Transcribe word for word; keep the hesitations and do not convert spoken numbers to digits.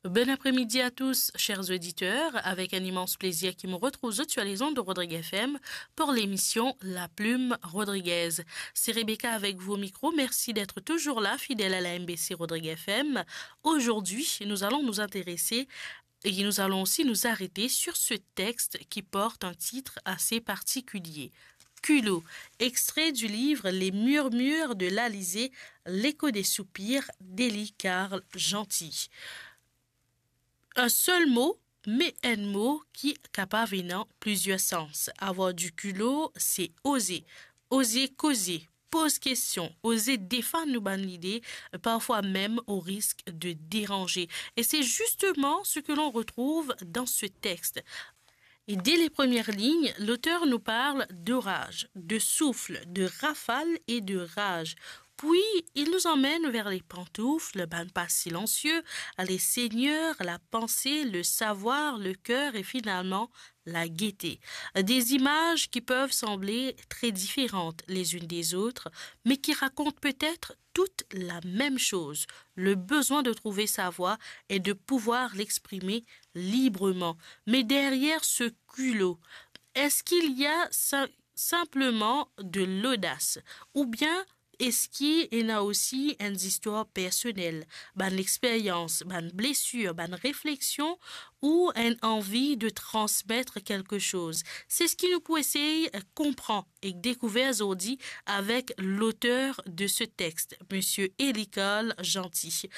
Bon après-midi à tous, chers auditeurs. Avec un immense plaisir ki mo retrouv zot sur les ondes de Rodrigues F M pour l'émission La Plume Rodriguez. C'est Rebecca avec vous au micro. Merci d'être toujours là, fidèle à la M B C Rodrigues F M. Aujourd'hui, nous allons nous intéresser et nous allons aussi nous arrêter sur ce texte qui porte un titre assez particulier. Culot, extrait du livre Les Murmures de l'Alizé, l'écho des soupirs d'Élie Carl Jeanty. Un seul mot, me enn mo ki kapav ena plizier sans. Avoir du culot, c'est oser. Oser koze, poz kestion, oze defann nou bann lide, parfwa mem au risque de déranger. Et c'est justement ce que l'on retrouve dans ce texte. Et dès les premières lignes, l'auteur nous parle d'orage, de souffle, de rafale et de rage. Puis, il nous emmène vers les pantoufles, bann pas silencieux, les seigneurs, la pensée, le savoir, le cœur et finalement la gaieté. Des images qui peuvent sembler très différentes les unes des autres, mais qui racontent peut-être toutes la même chose, le besoin de trouver sa voie et de pouvoir l'exprimer librement. Mais derrière ce culot, est-ce qu'il y a sim-, simplement de l'audace, ou bien est-ce qu'il y a aussi une histoire personnelle, bann expérience, bann blessure, bann réflexion ou une envie de transmettre quelque chose? C'est ce qui nous peut essayer de comprendre et découvrir aujourd'hui avec l'auteur de ce texte, Monsieur Élie Carl Jeanty.